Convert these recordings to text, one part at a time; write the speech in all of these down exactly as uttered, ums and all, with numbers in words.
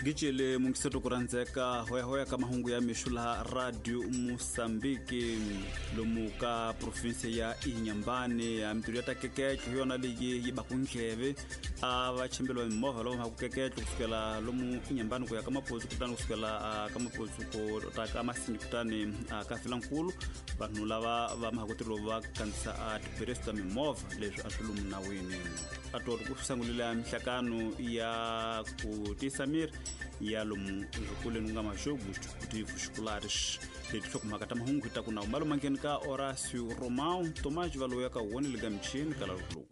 Gicele mungiseto kuranzeka hoya hoya ka mahungu ya mixo laha Radio Mozambique lomu ka province ya Inhambane ya mintirho ya takekeke hi yona leyi yi baku ndleve a va chimbeliwa mimovha lava ku kekeke kusukela lomu Inhambane ku ya ka Maputo kutani kusukela ka Maputo ku ta ka Masinyi kutani ka Vilankulu vanhu lava va mahakutiro va kandzisa a tiperesi ta mimovha leswi a swi lomu nawini a tori ku sungulile mihlakano ya ku tisa miri ya lomu zwikolweni ku nga Majogos Desportivos Escolares leti hlokomhaka ta mahungu hi ta ku na malomangeni ka Horácio Romão Tomás Valoya ka woni le ka michini ka lalukuluku.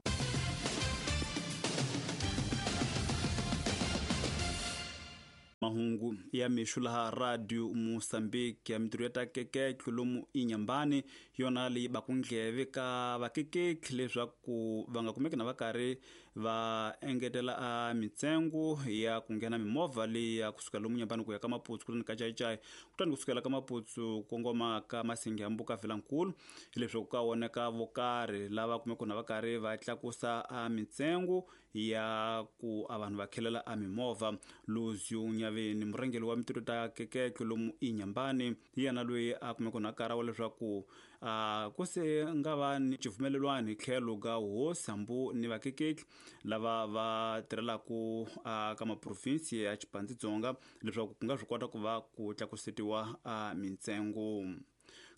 Mahungu ya mixo laha Radio Mozambique ya mintirho ya takekeke lomu Inhambane yona leyi baku ndleve ka vakekeki leswaku va nga kumeki na va karhi va engetela a mintsengo ya ku nghena mimovha leyi ya kusuka lomu Inhambane ku ya ka Maputo kutani ka Chaichai kutani kusukela ka Maputo kongoma ka Masingi hambu ka Vilankulu hileswaku ka voneka vo karhi lava kumeke na va karhi va tlakusa a mintsengo ya ku a vanhu va khelela a mimovha. Luzio Nyaveni murhangeri wa mintirho ta kekeke lomu Inhambane hi yena loyi a kumeke na kara wa leswaku a ku se nga va ni xivumelelwano hi tlhelo ka hosi hambu ni vakekeki lava va tirhelaku ka maprovinsi ya Chipandzitsonga leswaku ku nga swi kota ku va ku tlakusetiwa a mintsengo.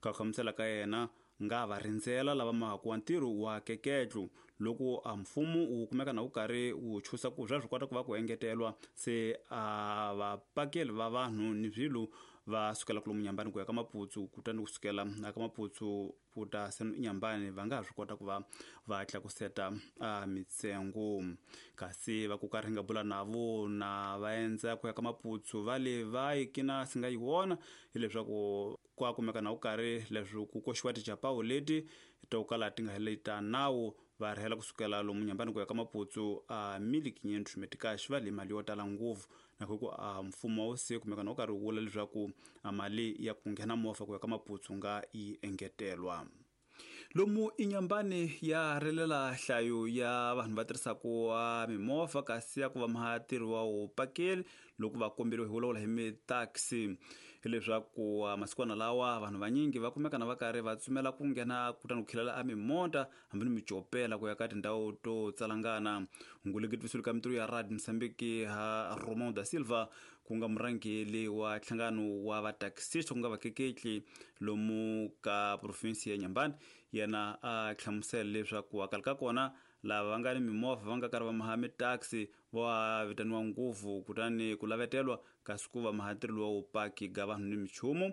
Ka hlamusela ka yena nga va rindzela lava mahaku wa ntirho wa keketlu loko a mfumo wu kumeka na wu karhi wu chusa ku swa swi kota ku va ku engetelwa se a vapakeli va vanhu ni swilo va sukela ku lomu Inhambane ku ya ka Maputo kutani kusukela ka Maputo ku ta se Inhambane va nga ha swi kota ku va va tlakuseta a mitsengo. Kasi va ku karhi nga bula na vo na va endza ku ya ka Maputo va le va yi kina si nga yi vona hileswaku ku kumeka na wu karhi leswi ku koxiwa tijapawu leti to kala ti nga heleli ta nawu va rhela kusukela lomu Inhambane ku ya ka Maputo a mili quinhentos meticais va le mali yo tala ngopfu na ku a mfumo wu se kumeka na wu karhi wu vula leswaku a mali ya ku nghena movha ku ya ka Maputo nga yi engetelwa. Lomu Inhambane ya rilela nhlayo ya vanhu va tirhisaku mimovha kasi ya ku va mahatirhi wa wupakeli loko va komberiwe hi vulavula hi mitaxi hileswaku masikwana lawa vanhu vanyingi va kumeka na va karhi va tsumela ku nghena kutani ku khilela a mimota hambi ni micopela ku ya ka tindhawu to tsalangana. Nguleketvisulu ka mintirho ya Radio Mozambique ha Romão da Silva ku nga murhangeri wa nhlangano wa vataxista ku nga vakeketli lomu ka provinsi ya Inhambane yena a hlamusela leswaku akali ka kona lava va nga ni mimovha va nga karhi va maha mitaxi va vitaniwa ngopfu kutani ku lavetelwa kasi ku va mahatirhi wa wupaki ga vanhu ni michumu.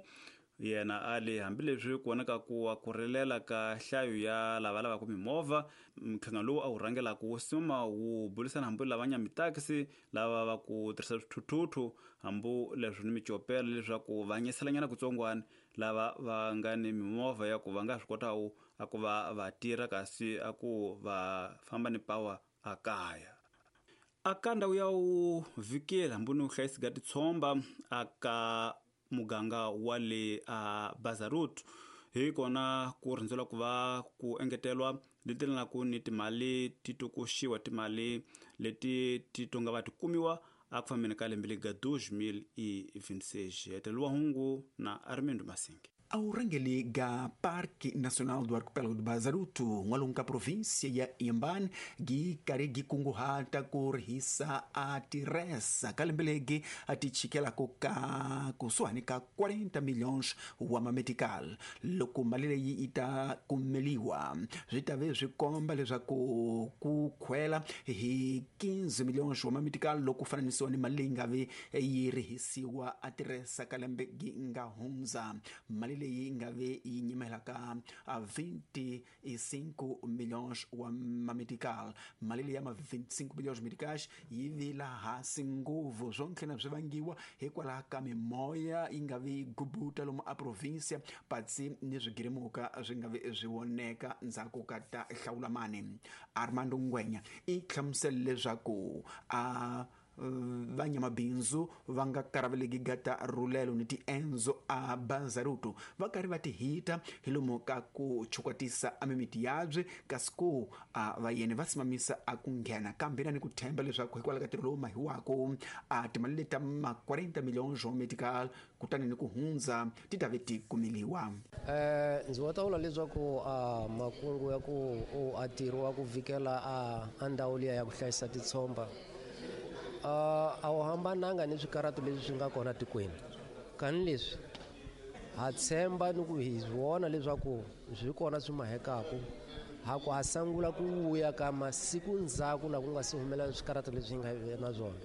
Yena a le hambileswi ku vonaka ku ku rilela ka nhlayo ya lava lavaka mimovha nhlangano lowu a wu rhangelaka wu suma wu burisana hambi lava nya mitaxi lava va ku tirhisa swithuthuthu hambi leswi ni micopela leswaku va nyeselanyana kutsongwana lava va nga ni mimovha ya ku va nga swi kotaku a ku va va tirha kasi a ku va famba ni power a kaya. Aka ndhawu ya wu vhikela hambi ni hlayisi ga titshomba aka muganga wa le a Bazarut hi kona ku rindzela ku va ku engetelwa leti ku ni timali ti tokoxiwa timali leti ti tonga va ti kumiwa a ku fambeni ka lembe lega dois mil e vinte e seis. Hetelwa hungu na Armindo Masingi. Ao rangeli ga Parque Nacional do Arquipélago do Bazaruto, n'walungu ka província ya Inhambane, gi karhi gi kunguhata ku rihisa a tirhesa ka lembe legi a ti chikelako ka kusuhani ka quarenta milhões wa mametical. Loko mali leyi yi ta kumeliwa swi ta ve swi komba leswaku ku khwela hi quinze milhões wa mametical loko fananisiwa ni mali leyi nga ve yi rihisiwa a tirhesa ka lembe gi nga hundza. Mali leyi nga ve yi nyimelaka a vinte e cinco milhões wa mamedical. Mali leyi ya ma vinte e cinco milhões medicais yi vila hansi ngopfu swo ntlhela swi vangiwa hikwalaho ka mimoya yi nga vi gubuta lomu a província patsi ni swigirimuka swi nga vi swi voneka ndzhaku ka ta hlawulamani. Armando Ngwenya i hlamusela leswaku a vanyamabindzu va nga karaveleki gata rulelo ni tiendzo a Bazaruto va karhi va tihita hi lomu ka ku chukwatisa a mimiti yabye kasi ku a vayeni va simamisa a ku nghena kambe na ni ku themba leswaku hikwalaho ka ntirho lowu mahiwako a timali leti ta ma quarenta milhões medical kutani ni ku hundza ti ta ve ti kumeliwa. Eh ndzi wa ta vula leswaku a makungu ya ku u a ntirho wa ku vikela a a ndhawu liya ya ku hlayisa titshomba a a wu hambananga ni swikaratu leswi swi nga kona tikweni kani leswi ha tshemba ni ku hi vona leswaku swi kona swi mahekaku ha ku ha sangula ku vuya ka masiku ndzhaku na ku nga si humelela swikaratu leswi hi nga na swona.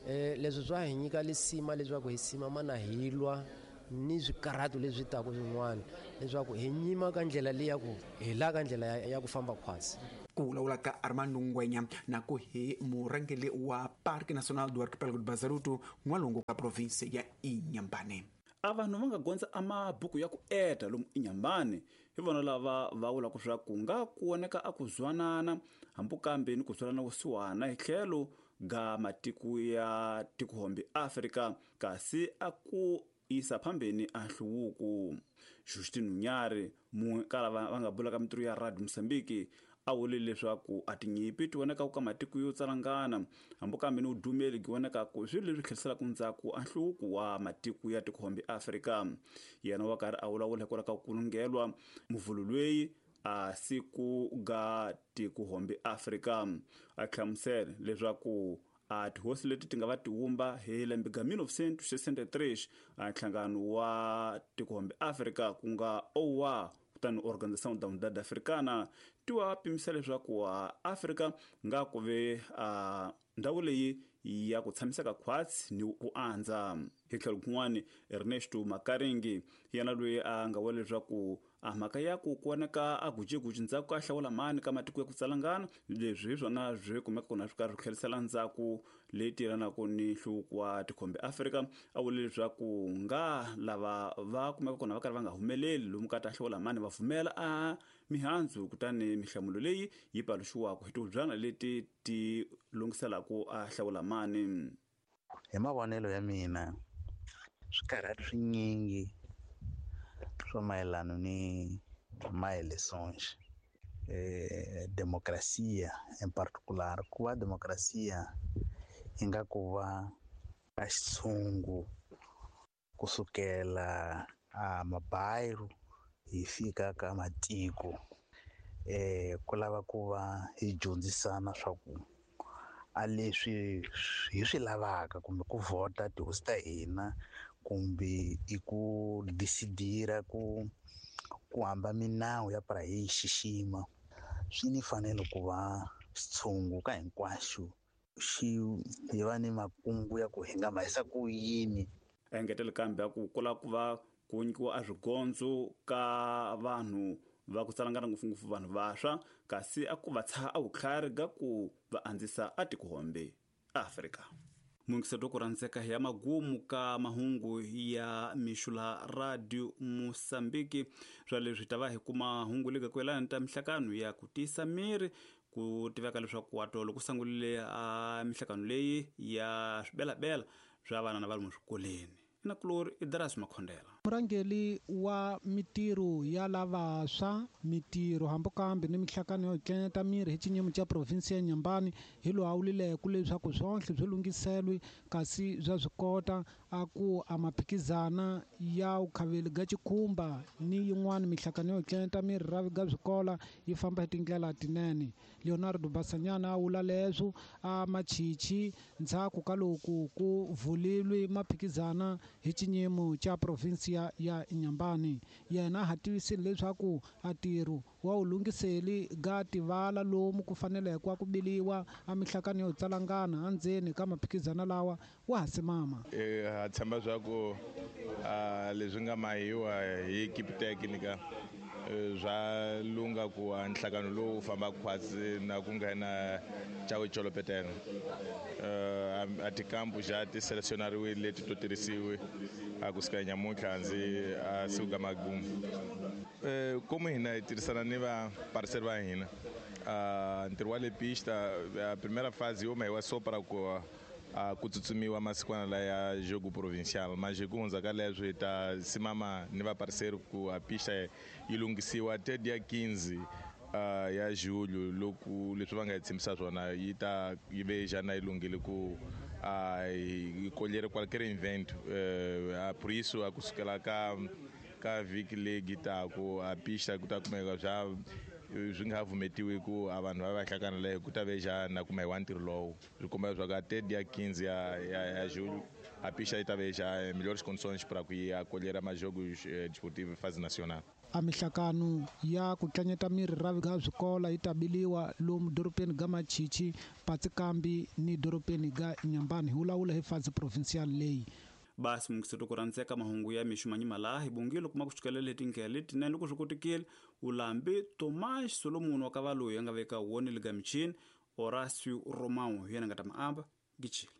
Eh leswi swa hi nyika lisima leswaku hi simama na hi lwa ni swikaratu leswi taka swin'wana leswaku hi nyima ka ndlela leyi ya ku hi la ka ndlela ya ku famba khwatsi. Ku vulavula ka Armando Ngwenya na ku hi murhangeri wa Parque Nacional do Arquipélago do Bazaruto n'walungu ka province ya Inhambane. A vanhu va nga gondza a mabuku ya ku eta lomu Inhambane hi vona lava va vulaka swa ku nga ku voneka a ku zwanana hambi kambe ni ku zwalana vusiwana hi tlhelo ga matiko ya tikohombe Afrika kasi a ku isa phambeni a nhluvuko. Justin Nyari munhu kala va nga bula ka mitirho ya Radio Mozambique a vule leswaku a tinyipi ti vonaka ka matiko yo tsalangana hambi kambe ni udumeli gi vonaka ku swilo leswi tlheriselaka ndzhaku a nhluvuko wa matiko ya tikohombe Afrika. Yena wa karhi a vulavula hikwalaho ka ku kulungelwa muvhulu lweyi a siku ga tikohombe Afrika a hlamusela leswaku a tihosi leti ti nga va tiwumba hi lembe ga mil novecentos e sessenta e três a nhlangano wa tikohombe Afrika ku nga O A kutani Organização da Unidade Africana ti wa pimisa leswaku a Afrika nga ku ve a ndhawu leyi ya ku tshamiseka khwatsi ni ku andza. Hi tlhelo kun'wani Ernesto Makaringi yena loyi a nga vula leswaku a mhaka ya ku voneka a gujeguji ndzhaku ka hlawula mani ka matiko ya ku tsalangana leswi hi swona swi kumeka kona swi karhi swi tlherisela ndzhaku leyi tirhanaka ni nhluvuko wa tikhombe Afrika. A vule leswaku nga lava va kumeka kona va karhi va nga humeleli lomu ka ta hlawula mani va pfumela a mihandzu kutani mihlamulo leyi yi paluxiwaka hi tihubyana leti ti lunghiselaka a hlawula mani. Hi mavonelo ya mina swikarhati swinyingi swa mayelana ni ma-elections eh demokrasia in particular ku va demokrasia yi nga ku va a xitshungu kusukela a mabayiru hi fika ka matiko eh ku lava ku va hi dyondzisana swa ku a leswi hi swi lavaka kumbe ku vhota tihosi ta hina kumbe i ku decidira ku ku hamba minawu ya para hi xixima swi ni fanele ku va xitshungu ka hinkwaxo xi hi va ni makungu ya ku hi nga mahisa ku yini. Engetele kambe a ku kula ku va ku nyikiwa a swigondzo ka vanhu va ku tsalangana ngopfungopfu vanhu vantshwa kasi a ku va tshaha a vutlhari ga ku va andzisa a tikohombe Afrika. Mungiseto ku rhandzeka ya magumu ka mahungu ya mixula Radio Mozambique swa leswi ta va hi kuma hungu lega ku yelana ta mihlakano ya ku tiyisa miri ku tiveka leswaku watolo ku sangulile a mihlakano leyi ya swibelabela swa vana na va lomu swikolweni. Ina kulori i Darasi Makhondela. Murhangeri wa mitirho ya lavantshwa mitirho hambi kambe ni mihlakano yo tlenta miri hi xinyimo xa province ya Inhambane hi lowu a vulileke leswaku swonhle swi lunghiselwe kasi bya swi kota a ku a maphikizana ya ukhaveli ga xikhumba ni yin'wana mihlakano yo tlenta miri ra ga swikola yi famba hi tindlela tinene. Leonardo Basanyana a vula leswo a machichi ndzhaku ka loko ku vulilwe maphikizana hi xinyimo xa province ya ya Inhambane. Yena ha tivisile leswaku a ntirho wa wu lunghiseli ga tivala lomu ku faneleke ku biliwa a mihlakano yo tsalangana endzeni ka maphikizana lawa wa ha simama. Ha tshemba swa ku leswi nga mahiwa hi equipe technica swa lunga ku nhlangano lowu famba khwatsi na ku nghena Chaucholopeteno a tikampu xa ti selecionariwile leti to tirhisiwe a kusuka nyamuntlha ndzi a siku magumu. Como hina hi tirhisana ni va parceiro va hina ntirho wa le pista a primeira fase yo mahiwa só para ku uh, ku tsutsumiwa masikwana laya jogo provincial mas ku hundza ka leswo hi ta simama ni vaparceiro ku a pista yi lunghisiwa te dia quinze uh, ya julho loko leswi va nga hi tshembisa swona yi ta yi ve jana yi lunghile ku uh, yi colher qualquer evento uh, por isso a kusukela ka ka vhiki leyi taku a pista ku ta kumeka swa swi nga vumetiwi ku a vanhu va va hlangana leyo ku ta ve jana kuma hi wa ntirho lowu swi komba leswaku a te dia quinze ya ya ya julho a pista yi ta ve já melhores condições para que ia acolher mais jogos eh, desportivos fase nacional. A mihlakano ya ku tlanyeta miri ra ga swikola yi ta biliwa lomu doropeni ga Machichi, Patsikambi ni doropeni ga Inhambane hi vulavula hi fase provincial leyi. Basi mungiseto ku rhandzeka mahungu ya mixo manyima hi bongile kuma ku sukela leti ndlela letinene loko swi kotekile ulambi Tomas Solomon wa ka valoyi a nga veka woni le ga michini Horacio Romão hi yena nga ta maamba gichile.